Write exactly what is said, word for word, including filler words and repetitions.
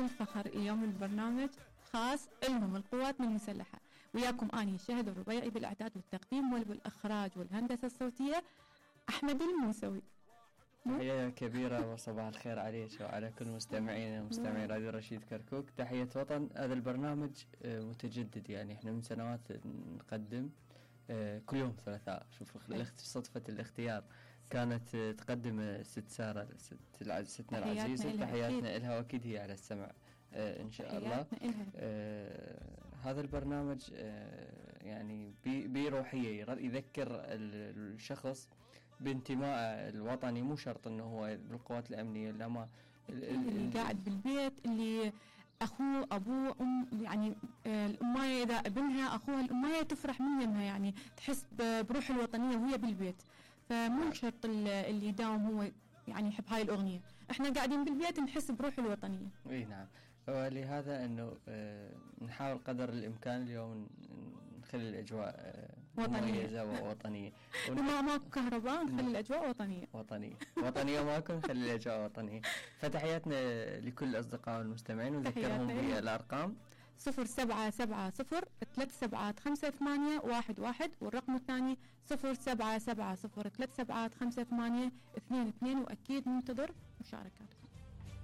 بكل فخر اليوم البرنامج خاص لهم القوات المسلحة. وياكم اني شهد الربيعي بالاعداد والتقديم والإخراج والهندسة الصوتية أحمد الموسوي. تحية كبيرة وصباح الخير عليك وعلى كل مستمعين ومستمعي راديو رشيد كركوك. تحية وطن. هذا البرنامج متجدد، يعني احنا من سنوات نقدم كل يوم ثلاثاء. شوف صدفة الاختيار كانت تقدم ست سارة ست ستنا العزيزة، تحياتنا إلها وأكيد هي على السمع آه إن شاء الله. آه هذا البرنامج آه يعني بروحية يذكر الشخص بانتماء الوطني، مو شرط انه هو بالقوات الامنيه، لما اللي قاعد بالبيت، اللي اخوه ابوه ام، يعني الامايه اذا ابنها اخوها الامايه تفرح من يمها، يعني تحس بروح الوطنيه وهي بالبيت. فمو شرط اللي يداوم هو يعني يحب هاي الاغنيه، احنا قاعدين بالبيت نحس بروح الوطنيه. اي نعم. ولهذا انه آه نحاول قدر الامكان اليوم نخلي الاجواء آه مميزه ووطنيه. وما ماكو كهرباء نخلي الاجواء وطنيه وطنيه وطنيه ماكو نخلي الاجواء وطنيه. فتحياتنا لكل الاصدقاء والمستمعين، ونذكرهم بالارقام صفر سبعة سبعة صفر ثلاث سبعات خمسة ثمانية واحد واحد، والرقم الثاني صفر سبعة سبعة صفر ثلاث سبعات خمسة ثمانية اثنين اثنين، واكيد ننتظر مشاركات.